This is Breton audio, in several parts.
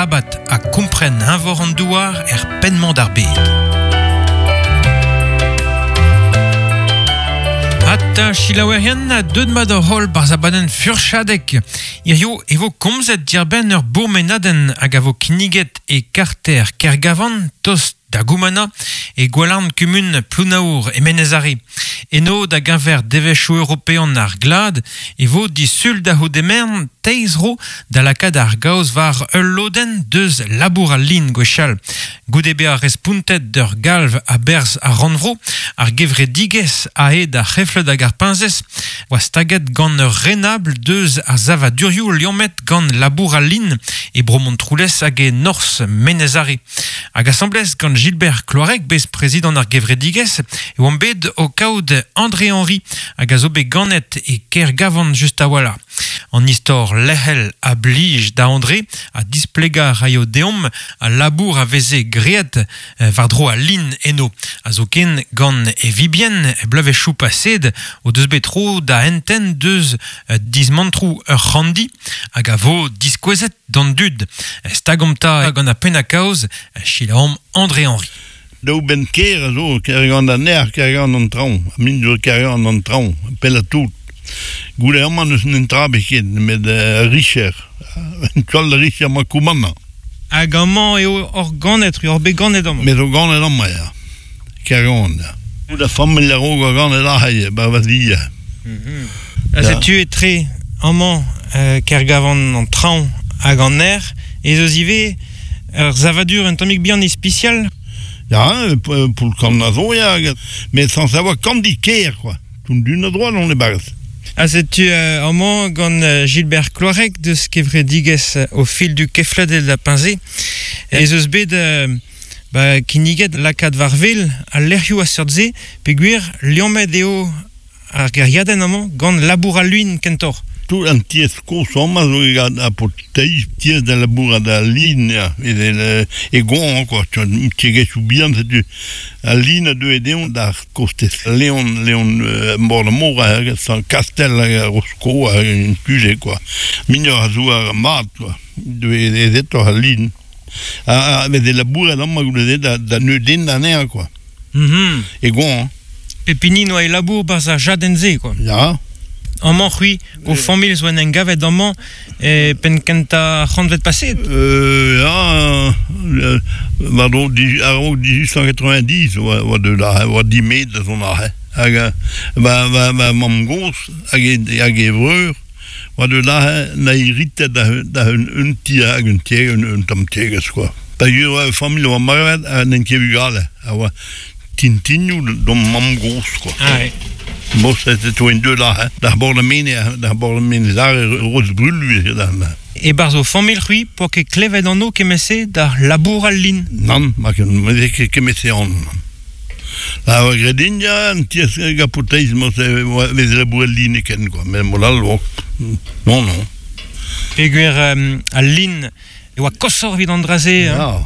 skrabat ha kompren eñvor an douar er penn-mañ d'ar bed. Ata selaouerien ha deuet mat hor holl barzh abadenn Furchadeg. Hiziv e vo komzet diarbenn ur bourmenadenn hag a vo kinniget e karter Kergavan, tost da Goumana, e gwalarn kumun Plounaour e Menez-Are. Eno, da geñver devezhioù european ar glad, e vo disul da c'houde-mern teiz ro da lakaat ar gaoz war ul lodenn deus labour al lin gwechall. Goude bezañ respontet d'ur galv a-berzh ar rannvro, ar gevredigezh aet ar c'hefled hag ar peñsez oa staget gant ur renabl deus ar savadurioù liammet gant labour al lin e bro Montroulez hag e norzh Menez-Are. Hag asambles gant Gilbert Kloareg, bez-prezidant ar gevredigezh, e oamp bet o kaout André Henry, hag a zo bet ganet e Kergavan just a-walc'h. An istor lec'hel a blij da André ha displegañ a raio deomp al labour a veze graet war-dro al lin eno, ha zoken gant e vibien bloavezhioù paseet o deus bet tro da entent deus dismantroù ur c'handi hag a vo diskouezet d'an dud. Stagomp 'ta gant ar penn-kaoz, selaomp André Henry. Daou benn kêr a zo, Kergant an Nec'h, Kergant an Traoñ. Ha min zo Kergant an Traoñ, pellañ tout. Goude amañ n'eus netra ebet ket, nemet ur richer. Un toal richer 'mañ koumannañ. Hag amañ eo hor ganet, ur bet ganet amañ. Me zo ganet amañ, ya. Kergant, ya. Da familh a-raok oa ganet aze, 'ba va zi. Ha setu etre amañ Kergavan an traoñ hag an nec'h ez eus ivez ur savadur un tammig bihan ispisial. Ya, poull-kann a zo, ya, met sans savoir kandi kêr, quoi. Tout d'un a droite on e-barzh. Ha setu amañ gant Gilbert Kloareg deus kevredigezh Au fil du kefled da Peñse. Ez eus bet ba, kinniget lakaat war-wel al lec'hioù a seurt-se peogwir liammet eo ar gêriadenn amañ gant labour al lin kentoc'h. Tout an tiez kozh amañ zo gant ar paotr-teiz tiez da labourat al lin ya evel e goañv quoi tiegezhioù bihan setu al lin a deue dezhañ d'ar kostez Leon Leon bord ar mor hag Kastell hag Rosko hag un tu-se quoi muioc'h a zouar mat quoi deue aezetoc'h al lin ha veze labouret amañ goude-se da neudenn anezhañ quoi E goañv. Pep hini 'noa e labour 'barzh ar jadenn-se quoi. Ya. Amañ c'hwi, ho familh zo en em gavet amañ e penn kentañ ar c'hantved paseet. Ya, war-dro a-raok 1890 oa oa deuet aze, oa dimet da zont aze. Hag ma ma ma mamm-gozh hag e hag e vreur oa deuet aze 'na heritet da da un un ti hag un tiegezh un tamm tiegezh quoi. Pa oa familh oa marvet ha n'en ket bugale. A oa tintinioù d'hon mamm-gozh quoi. Ah ouais. Bon, c'était toi une deux là, hein. D'ar bord da Mene, d'ar bord da Menez Are, Roz Brulu eo da. E-barzh ho familh c'hwi poa ket klevet anv kement-se d'ar labour al lin? Nann, ma ket kement-se anv. A oa graet din ya, an tiez gapoteiz morse vez labouret lin ken quoi, met mod all non non. Peogwir al lin E oa koshoc'h evit an dra-se. Hein? Ya,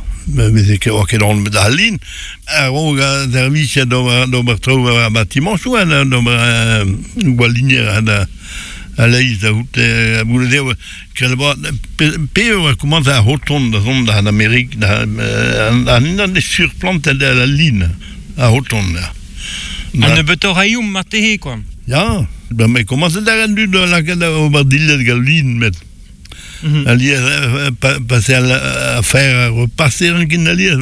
met ket oa ket anvet da lin. A-raok a servijer d'ober d'ober traoù war ar batimañsoù, hein, d'ober gwalinier da a-leizh da c'hoût goude dezho pe e oa komañs ar c'hoton da zont da Amerik da an unan surplantet al lin ar c'hoton ya. Ha nebeutoc'h a ioum marteze quoi. Ya, ben me komañset da an dud da lakaat ober dilhad gant lin met Alies, passer à faire repasser un kin alies,